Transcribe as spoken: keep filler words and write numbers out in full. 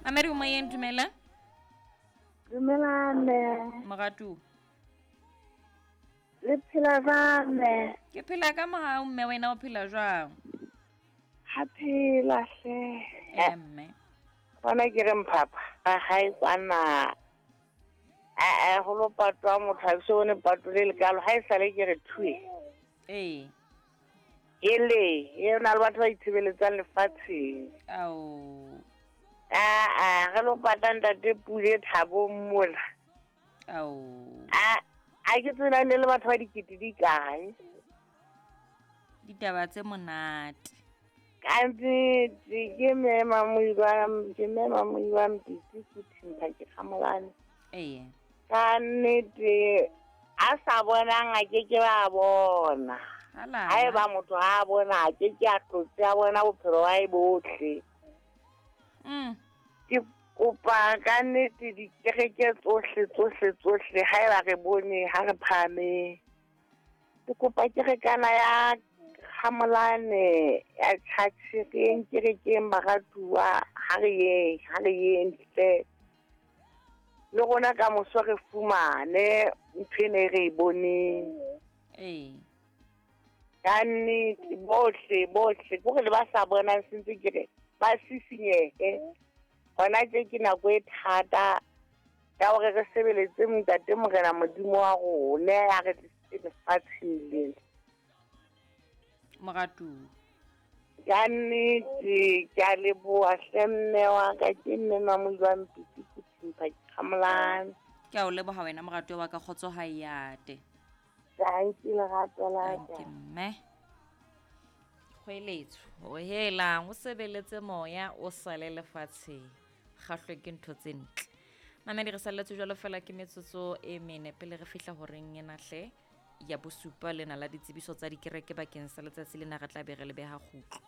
Mamedi o moyeng, dumela. Dumela mme. Moratuwa. Le phela jwang mme? Ke phela ka mohau mme, wena o phela jwang? Ha phela hle. Eh mme. Bona ke re mphapha ga gae kwana. A a go lo patwa motho a se bone pato le lekalo ha e sale ke re thue. Ee. Ele, e na le batho ba itshebeletsang lefatsheng. Ao. A a re lo pata ntate Pule Thabong mola. Ao. A a ke tsena ne le batho ba dikete di kae? Ditaba tse monate. Ka nnete ke mme Mamoiwa, ke mme Mamoiwa Mpitsi ke Thimpa ke Kgamolane. Ee. Ka nnete a sa bonang a ke ke ba bona. Hala. Haeba motho ha a bona a ke ke a tlotse a bona bophelo ba hae bohle. Mm. Ke kopa ka nnete dikereke tsohle tsohle tsohle haeba re bone ha re phahame. Ke kopa kerekana ya Kgamolane ya church re yeng kerekeng baratuwa, ha re yeng, ha re yeng hle. Le rona ka moso re fumane ntho ena e re e boneng. Ee. Ka nnete bohle bohle ke hore le ba sa bonang sentse ke re ba sisinyehe. Hona tje ke nako e thata ya hore re sebeletse Ntate Morena Modimo wa rona ya re tlisitse lefatsheng lena. Moratuwa. Ka nnete ke a leboha hle mme wa ka, ke mme Mamoiwa Mpitsi ke Thimpa ke Kgamolane. Ke a o leboha wena moratuwa wa ka, kgotso ha e ate. Thank you lerato la ka. Thank you mme. Kgweletso, o helang, o sebeletse moya, o sale lefatsheng. Kgahlwe ke ntho tse ntle. Mamedi re salletse jwalo fela ke metsotso e mene pele re fihla horeng ena hle ya bosupa lena la ditsebiso tsa dikereke bakeng sa letsatsi lena re tla be re le beha kgutlo.